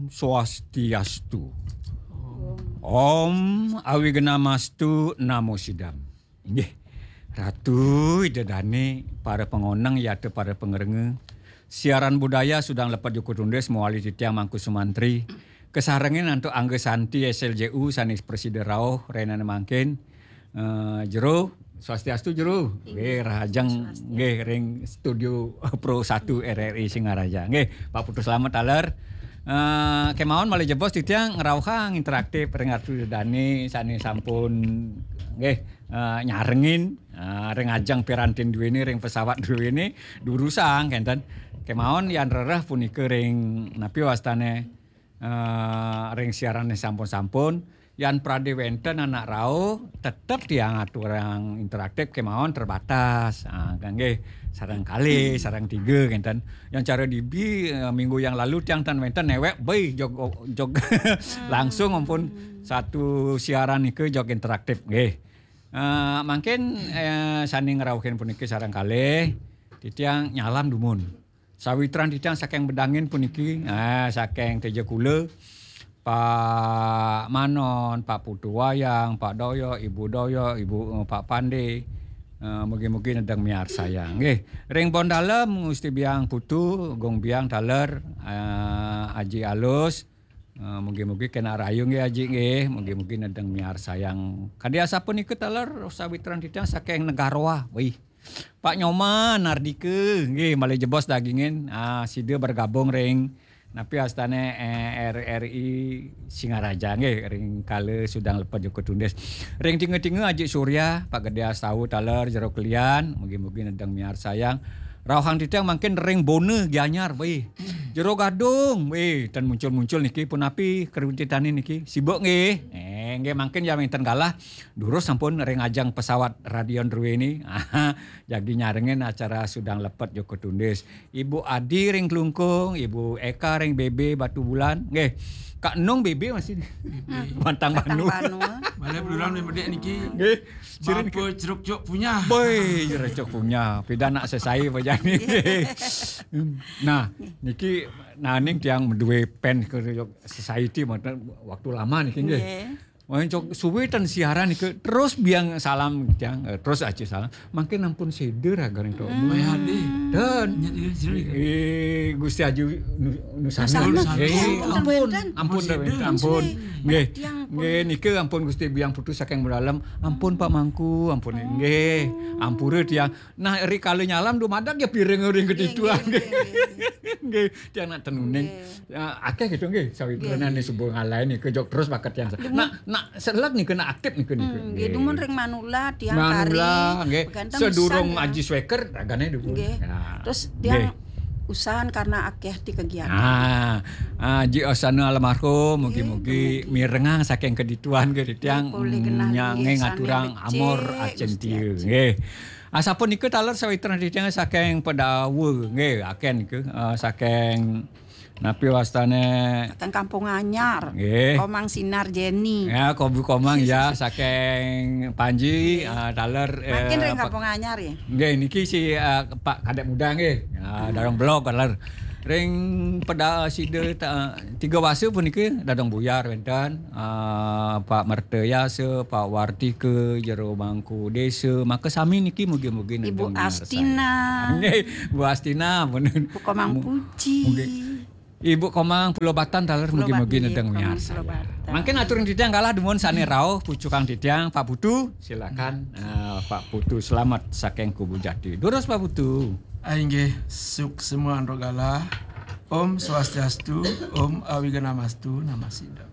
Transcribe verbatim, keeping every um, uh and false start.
Swastiastu. Om Awignamastu Namo Sidam. Inggih. Ratu Ida Dane, para pangoneng yata para pangrengga. Siaran budaya Sudang Lepet Joko Tundis mawali titiang Mangku Sumantri. Kasarengin antuk Angga Santi S L J U sané prasida rauh rahinané mangkin. Eh, Jero, swastiastu Jero. Inggih. Nggih, rahajeng Swastiastu. Nggih ring studio Pro satu R R I Singaraja. Nggih, Pak Putu Slamet taler. Eh, kemawon malih jebos titiang ngrauhang interaktif ring Ratu Dani sané sampun nggih, eh, nyarengin, eh, ring ajeng pirantin duéné, ring pesawat duéné, durusang kénten. Kemawon yan rereh punika ring napi wastané eh, ring siarané sampun-sampun, yan pradé wénten anak rauh, tetep tiang aturang interaktif kemawon terbatas. Ah, kan nggih, sareng kalih, sareng tiga kénten. Yang cara dibi, eh, minggu yang lalu tiang tan wénten néwék, béh, jog, jog langsung ampun satu siaran nika jog interaktif nggih. Eh, mangkin, eh, sané ngrauhin puniki sareng kalih, titiang nyalam dumun. Sawitran titiang saking Bedangin puniki, eh, saking Tejakula, Pak Manon, Pak Putu Wayang, Pak Doyo, Ibu Doyo, Ibu, eh, Pak Pande, eh, mugi-mugi nedeng miarsayang. Nggih, ring pon dalem Gusti Biang Putu, Gung Biang taler, eh, Aji Alus, eh, mugi-mugi kena rayu nggih Aji nggih, mugi-mugi nedeng miarsayang. Kadi asapunika taler sawitran titiang saking Negaroa. Wih. Pak Nyoman Ardika, nggih, malih jebos dagingin, ah, sida bergabung ring napi astané, eh, R R I Singaraja, nggih, ring kala Sudang Lepet Joko Tundis. Ring tinga-tinga Aji Surya, Pak Gedé Astawa taler Jero Kelian, mugi-mugi nedeng miarsayang. Rauhang titiang mangkin ring Bona Gianyar, wih. Jero Gadung, wih, tan muncul-muncul niki punapi kreditane niki. Sibuk nggih. Eh, nggih mangkin ya wénten galah. Durus sampun ring ajeng pesawat radio druéné. Jagi nyarengin acara Sudang Lepet Joko Tundis. Ibu Adi ring Klungkung, Ibu Eka ring B B Batubulan. Nggih. Kak Nung B B masih. Batang Batang Banu. Banu. Malih belulang ring bedik niki. Nggih. Sirin Bapa Jeruk Cuk Punyah. Boy, Jeruk Cuk Punyah. Pida nak sesai apa jani. Nah, niki naning tiang duwe pen ke society waktu lama niki nggih. Nggih. Wah, cok suwe ten siaran niki terus biang salam tiang, eh, terus aja salam. Mangkin ampun seder agar itu. Hmm. Wah, ade. Dan Nya dia, sira ni. Eh, Gusti Aji Nu-, Nusana. Nusana. Eh, Nggih, ampun, ampun, ampun, ampun, ampun. Nggih. Tiang pun. Nggih, nika ampun Gusti Biang Putu saking Bedalem. Ampun Pak Mangku, ampun. Nggih, ampura tiang. Nah, rikala nyalam dumadak ya piring ring Nggih, ketiduan. Nggih, nggih, nggih. Nggih, tiang nak tenuning. Nggih. Ya, akeh gitu nggih, sawitran Nggih. Nih subuh ngalai nih kejok terus bakat tiang. Dumun. Nak, nak selek nih kena aktif nih kena. Hmm, nggih, dumun ring Manula tiang Manula, kari. Nggih. Beganten sedurung pisan, ya. Aji Sweker ragane dumun. Nggih. Ya. Terus tiang nggih. Usahan karena akeh ti kegiatan. Ah, ah, Ji Osana almarhum, mugi-mugi nggih, mugi. Mirengang saking kedituan ke tiang. Nggih, polih genah nyange nggih, ngaturang sane becik, amor Gusti acintia. Aji. Nggih. Asapunika taler sawitran titiang saking Pedawa, nggih, akeh nika, eh, saking napi wastane? Saking Kampung Anyar. Nggih. Komang Sinar Jenny. Ya, Kobu Komang ya, saking Panji, nggih. Eh, taler, mangkin eh, ring Pak Kampung Anyar ya? Nggih, niki si, eh, Pak Kadek Muda nggih. Ya, hmm. Darong Blog taler. Ring peda sida ta-, tiga wasa puniki dadong buyar wénten, ah, Pak Mertayasa, Pak Wartika, Jero Mangku Desa, maka sami niki mugi-mugi Ibu nedeng miarsayang. Astina. Nggih, Bu Astina, pun Bu Komang mu-, Puji. Mugi. Ibu Komang Pulau Batan taler Pulau mugi-mugi Bat-, nedeng nggih, Komang miarsayang. Pulau Batan. Mangkin atur titiang galah dumun sane rauh pucukang titiang Pak Putu, silakan, ah, Pak Putu selamat saking Kubu Jati. Durus Pak Putu. Ah, inggih, suksma antuk galah. Om Swastiastu, Om Awignamastu, Namo Sidam.